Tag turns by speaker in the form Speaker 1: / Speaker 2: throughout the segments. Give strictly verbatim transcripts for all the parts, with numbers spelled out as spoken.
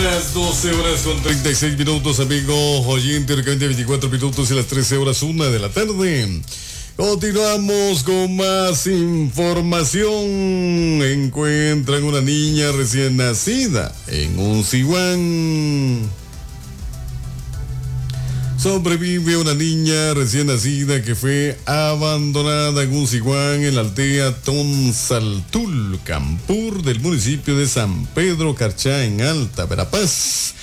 Speaker 1: Las doce horas con treinta y seis minutos, amigos oyentes, veinticuatro minutos y las trece horas una de la tarde. Continuamos con más información. Encuentran una niña recién nacida en un siwán. Sobrevive una niña recién nacida que fue abandonada en un siwán en la aldea Tonsaltul, Campur, del municipio de San Pedro Carchá, en Alta Verapaz.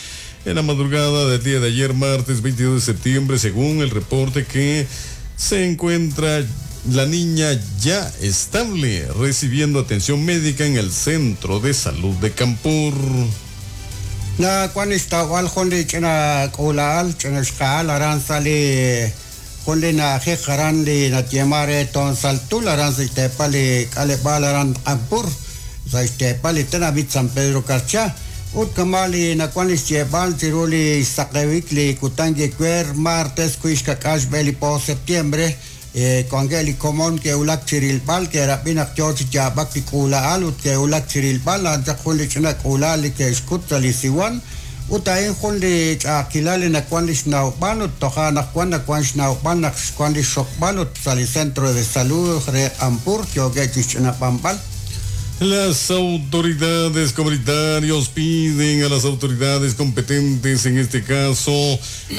Speaker 1: En la madrugada del día de ayer, martes veintidós de septiembre, según el reporte que se encuentra la niña ya estable, recibiendo atención médica en el Centro de Salud de Campur.
Speaker 2: Na kwan istawal jun li ch'ina k'uula'al ch'ina xqa'al aran sa' li jun li na'ajej aran li natyema re Tonsaltul aran sa' xteepal li k'aleb'aal aran Campur sa' xteepal li tenamit San Pedro Carchá ut kama li nakuan li xyeeb'al chiru li xsaqewik li kutan yekwer martes kui xkak'al xb'e li po septiembre kuanke li komon ke'wulak chirilb'al ke'rab'i naq yoo chi yaab'ak li k'uula'al ut ke'wulak chirilb'al a'an chaq jun li ch'ina k'uula'al li ke'xkut sa' li siwan ut a'in jun li ch'a'ajkilal li nakuan li xnawb'al ut toja' naq wan nakuan xnawb'al naq xkuan li xokb'al ut sa' li Centro de Salud re Campur yookeb' chi xch'inab'anb'al.
Speaker 1: Las autoridades comunitarios piden a las autoridades competentes, en este caso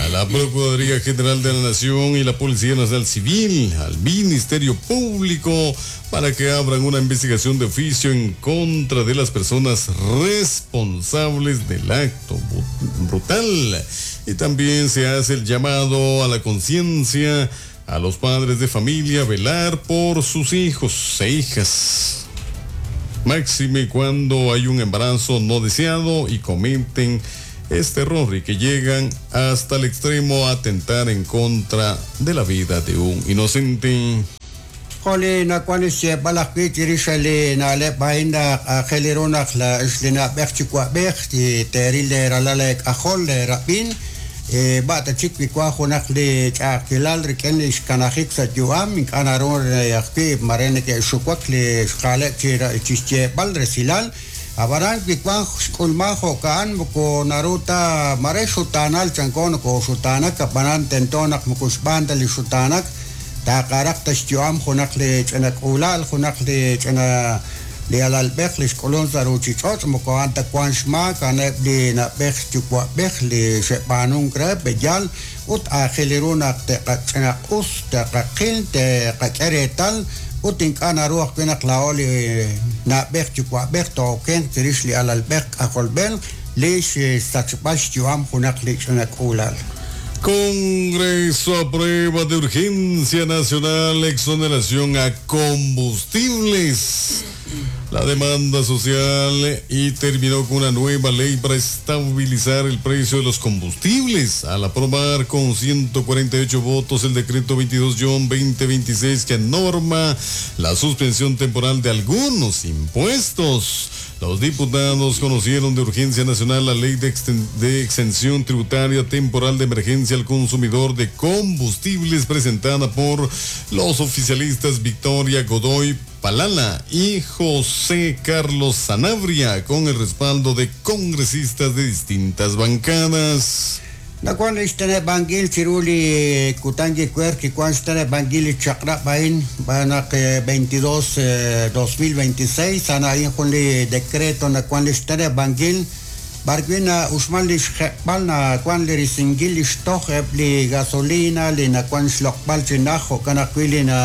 Speaker 1: a la Procuraduría General de la Nación y la Policía Nacional Civil, al Ministerio Público, para que abran una investigación de oficio en contra de las personas responsables del acto brutal. Y también se hace el llamado a la conciencia a los padres de familia a velar por sus hijos e hijas. Máxime cuando hay un embarazo no deseado y cometen este error y que llegan hasta el extremo a atentar en contra de la vida de un inocente.
Speaker 2: Joli nakuan xyeeb'al ajwi' chirix li na'leb' a'in naq aajel ru naq la li na'b'ej chiwa'b'ej teeril leeralal leek'ajol leerab'in b'ata chik wi wan junaq li ch'a'ajkilal rik'in li xkanajik sa' yu'am ink'a' naru ajwi' mare neke'xuwak li xqaaleb' chi xyeeb'al resilal ab'aran wi wan xk'ulman jo'ka'an moko naru ta mare xutaanal chanko nokoxutaanak ab'anan tento naq moko xb'aan ta li xutaanak taqaraq ta xyu'am junaq li ch'ina k'uula'al junaq li ch'ina li alalb'ej li xk'ulun sa' ruuchich'och' moko a'an ta wan xmaak a'aneb' li na'b'ej yuwa'b'ej li xe'b'aanunk re b'eyal ut aajel ru naq te'qach'inaq'us te'qaqil te'qak'e reetal ut ink'a' naru ajwi' naq laa'o li na'b'ej yuwa'b'ej tookenq chirix li alalb'ej k'ajolb'ej li xsachb'al xyu'am junaq li ch'ina k'uula'al.
Speaker 1: Congreso aprueba de urgencia nacional exoneración a combustibles. La demanda social y terminó con una nueva ley para estabilizar el precio de los combustibles. Al aprobar con ciento cuarenta y ocho votos el decreto veintidós guion veinte veintiséis que norma la suspensión temporal de algunos impuestos. Los diputados conocieron de urgencia nacional la ley de, de exención tributaria temporal de emergencia al consumidor de combustibles presentada por los oficialistas Victoria Godoy Palala y José Carlos Sanabria, con el respaldo de congresistas de distintas bancadas.
Speaker 2: Nakuan ixtene bangil chiruli kutangi kuerki kuan ixtene bangil chaqra bain banak veintidós dos mil veintiséis ana in junli decreto nakuan ixtene bangil barguina uxmal lixjeb'al nakuan lirisingil ixtoj li gasolina li nakuan xloqb'al chinaj jo'kan ajwi' li na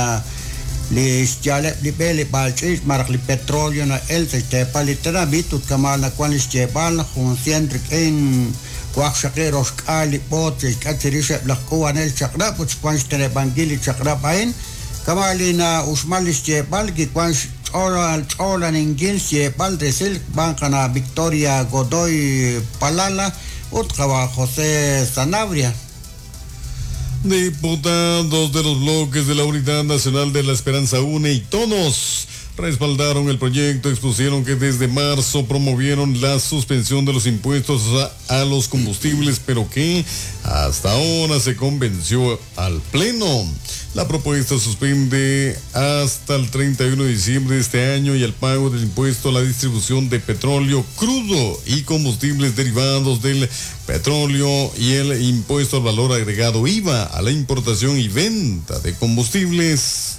Speaker 2: li xyaleb' li b'e li b'alch'ich maraj li petróleo na el sa xteepal li tenamit ut kamal nakuan li xyeeb'al jun cien rik'in waqxaqi roxk'al li b'oot xk'at chirix eb' laj k'uwanel chaq'rab' ut xwan xteneb'ankil li chaq'rab' a'in kamal li na uxmal li xyeeb'al kikuan xch'ool ch'oolaninkil xyeeb'al resil b'an qana Victoria Godoy Palala ut qawa José Sanabria.
Speaker 1: Diputados de los bloques de la Unidad Nacional de la Esperanza UNE y Todos respaldaron el proyecto. Expusieron que desde marzo promovieron la suspensión de los impuestos a, a los combustibles, pero que hasta ahora se convenció al Pleno. La propuesta suspende hasta el treinta y uno de diciembre de este año y el pago del impuesto a la distribución de petróleo crudo y combustibles derivados del petróleo y el impuesto al valor agregado I V A a la importación y venta de combustibles.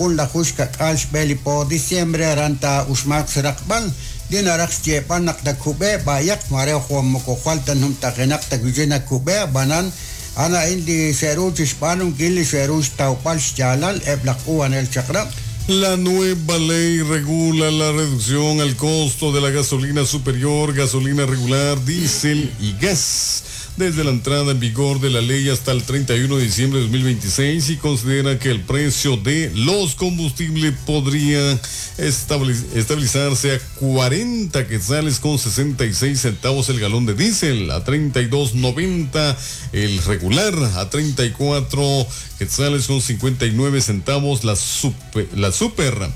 Speaker 2: La jushka kalsh beli po diciembre ranta ushmak srakbal dinaraq chepanak da kube bayak mare juan mokojualta num tajenak takujena kube banan ana indi seruch hispanum gili seruch taupal chalal eblakuan el chakra.
Speaker 1: La nueva ley regula la reducción al costo de la gasolina superior, gasolina regular, diésel y gas desde la entrada en vigor de la ley hasta el treinta y uno de diciembre de dos mil veintiséis y considera que el precio de los combustibles podría estabilizarse a cuarenta quetzales con sesenta y seis centavos el galón de diésel, a treinta y dos noventa el regular, a treinta y cuatro quetzales con cincuenta y nueve centavos la super, la super.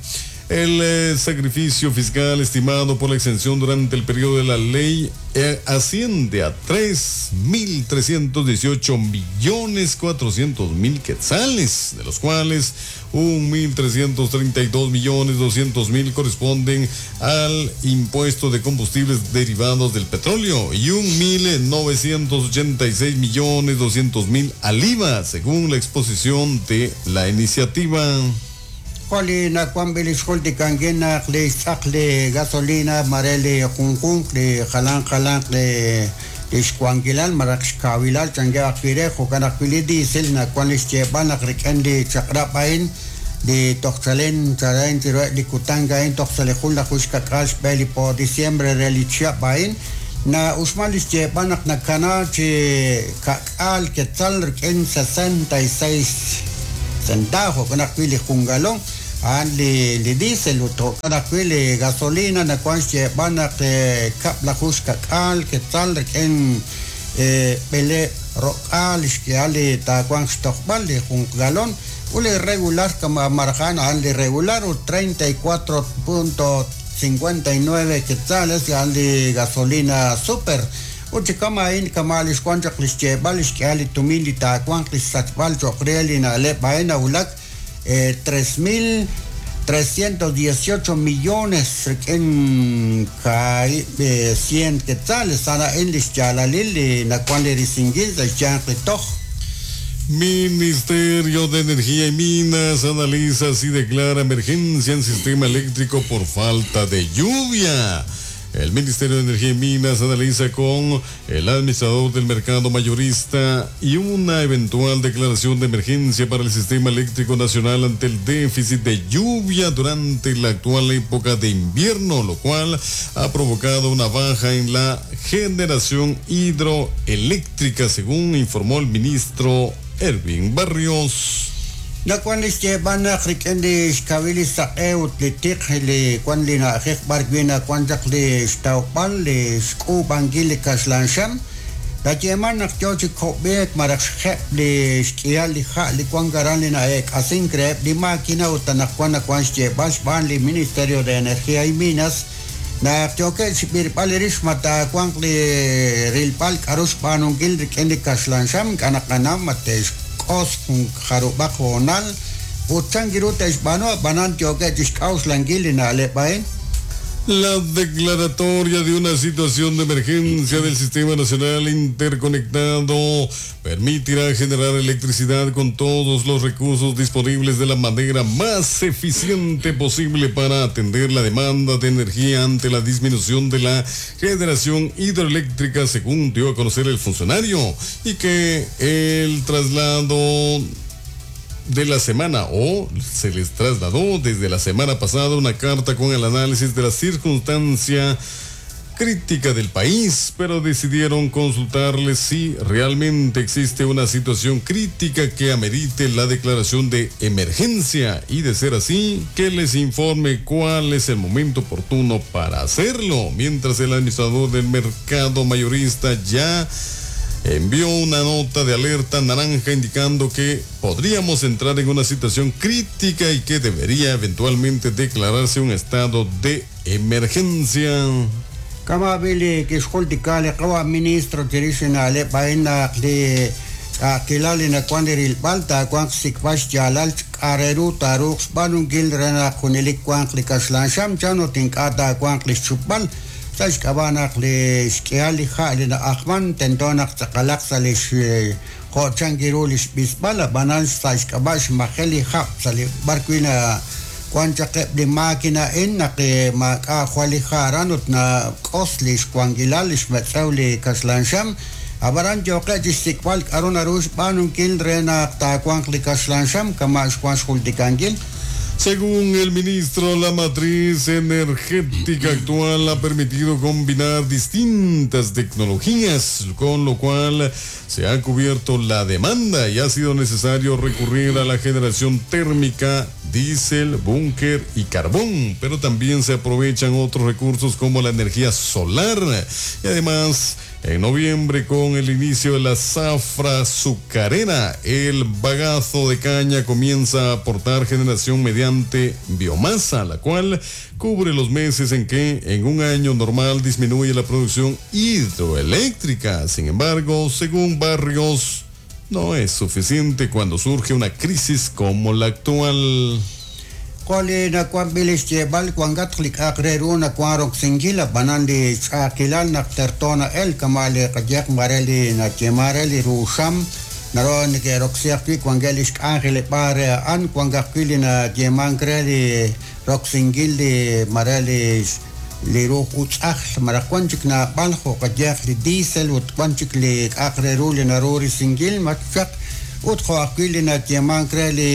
Speaker 1: El eh, sacrificio fiscal estimado por la exención durante el periodo de la ley eh, asciende a tres mil trescientos dieciocho millones cuatrocientos mil quetzales, de los cuales un mil trescientos treinta y dos millones doscientos mil corresponden al impuesto de combustibles derivados del petróleo y un mil novecientos ochenta y seis millones doscientos mil al I V A, según la exposición de la iniciativa.
Speaker 2: Joli na kwambil xolti kangena le tzakle gasolina marele junjun le jalan jalan le ixcuanquilal maraxcavilal changue akire jocanakili diesel na kwan ixchepan akriken le chakrapain de toxalen charain tiro likutanga en toxalejul la jushkakash beli po diciembre relichiapain na uxmal ixchepan aknakana che kakal quetzal en sesenta y seis centavo con aquili jungalón an le le diésel uto con aquili gasolina na cuan che van a cap la jusca cal que tal en pele rocal que ale ta cuan stockbal de jungalón ule regular como marjan al de regular o treinta y cuatro punto cincuenta y nueve quetzales al de gasolina super Uchikama in kamalis cuanchak lischebalish que ali tumili ta cuanclis sachbal chocrielina le baena ulak tres mil trescientos dieciocho millones en cien quetzales ana en lischalalili na cuan le distinguir de chanquitoj.
Speaker 1: Ministerio de Energía y Minas analiza si declara emergencia en sistema eléctrico por falta de lluvia. El Ministerio de Energía y Minas analiza con el administrador del mercado mayorista y una eventual declaración de emergencia para el sistema eléctrico nacional ante el déficit de lluvia durante la actual época de invierno, lo cual ha provocado una baja en la generación hidroeléctrica, según informó el ministro Erwin Barrios.
Speaker 2: Na kwan li xyeeb'al naq rik'in li xkawil li saq'e ut li tiq li kwan li na'ajej b'ar wi' nakwan chaq li xtawb'al li xk'uub'ankil li kaxlanxam la yeeman naq yoo chi kob'eek maraj xjeb' li xk'ihal li ja' li kwan karan li na'eek'asink reheb' li máquina ut anaqwan nakwan xyeeb'al xb'aan li Ministerio de Energía y Minas naq yookeb' xb'irb'al li rix ma taawanq li rilb'al k'aru xb'aanunkil rik'in li kaxlanxam k'anaqanam ma te'x os jarubaq honal uchangiru teixbano banan yoke tixk'awxlankil na'leb'ain.
Speaker 1: La declaratoria de una situación de emergencia del Sistema Nacional Interconectado permitirá generar electricidad con todos los recursos disponibles de la manera más eficiente posible para atender la demanda de energía ante la disminución de la generación hidroeléctrica, según dio a conocer el funcionario, y que el traslado de la semana, o se les trasladó desde la semana pasada una carta con el análisis de la circunstancia crítica del país, pero decidieron consultarles si realmente existe una situación crítica que amerite la declaración de emergencia y, de ser así, que les informe cuál es el momento oportuno para hacerlo. Mientras, el administrador del mercado mayorista ya envió una nota de alerta naranja indicando que podríamos entrar en una situación crítica y que debería eventualmente declararse un estado de emergencia.
Speaker 2: Kama bili kixjultika li qawa ministro chirix na'leb' a'in naq li ch'a'ajkilal li nawan li rilb'al taawanq xsik'b'al xyaalal k'a' re ru taaruuq xb'aanunkil re naq junelik wanq li kaxlan xam chan ut ink'a' taawanq li xchupb'al sa' xk'ab'a' naq li xk'ihal li ha' li na'ajman tento naq tz'aqalaq sa' li jo' chanki ru li xb'isb'al ab'anan sa' xk'ab'a' xmajel li hab' sa' li b'ar wi' na wan chaq eb' li máquina a'in naq maak'a' jwal li ha' aran ut nak'os li xwankilal li xmetz'ew li kaxlan xam ab'aran yooqe' chi xsik'b'al k'aru naru xb'aanunkil re naq taawanq li kaxlan xam kama' xwan xjultikankil.
Speaker 1: Según el ministro, la matriz energética actual ha permitido combinar distintas tecnologías, con lo cual se ha cubierto la demanda y ha sido necesario recurrir a la generación térmica, diésel, búnker y carbón, pero también se aprovechan otros recursos como la energía solar. Y además, en noviembre, con el inicio de la zafra azucarera, el bagazo de caña comienza a aportar generación mediante biomasa, la cual cubre los meses en que en un año normal disminuye la producción hidroeléctrica. Sin embargo, según Barrios, no es suficiente cuando surge una crisis como la actual.
Speaker 2: Qoli nawan b'il xyeeb'al wankatq li k'a'aq re ru nawan roksinkil ab'anan li ch'a'ajkilal naq terto na'el kama' li qayehaq mare li nayeeman re li ruuxam naro neke'roksi ajwi' wankeb' li xk'anjeleb'aal re a'an wank ajwi' li nayeemank re li roksinkil li mare li li ruuj utz'ajl malaj wan chik naab'al jo' qayehaq li diésel ut wan chik li k'a'aq re ru li naru risinkil machaq ut jo' ajwi' li nayeemank re li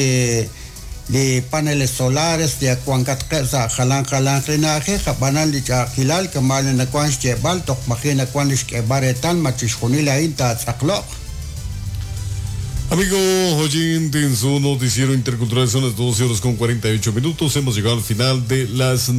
Speaker 2: li paneles solares li wankatqeb' sa' jalan jalan li na'ajej ab'anan li ch'a'ajkilal kama' li nawan xyeeb'al toj maji' nawan li xk'eeb'al reetal ma chixjunil a'in taatz'aqlo'q.
Speaker 1: Amigo oyente, en su noticiero intercultural son las doce horas con cuarenta y ocho minutos. Hemos llegado al final de las noticias.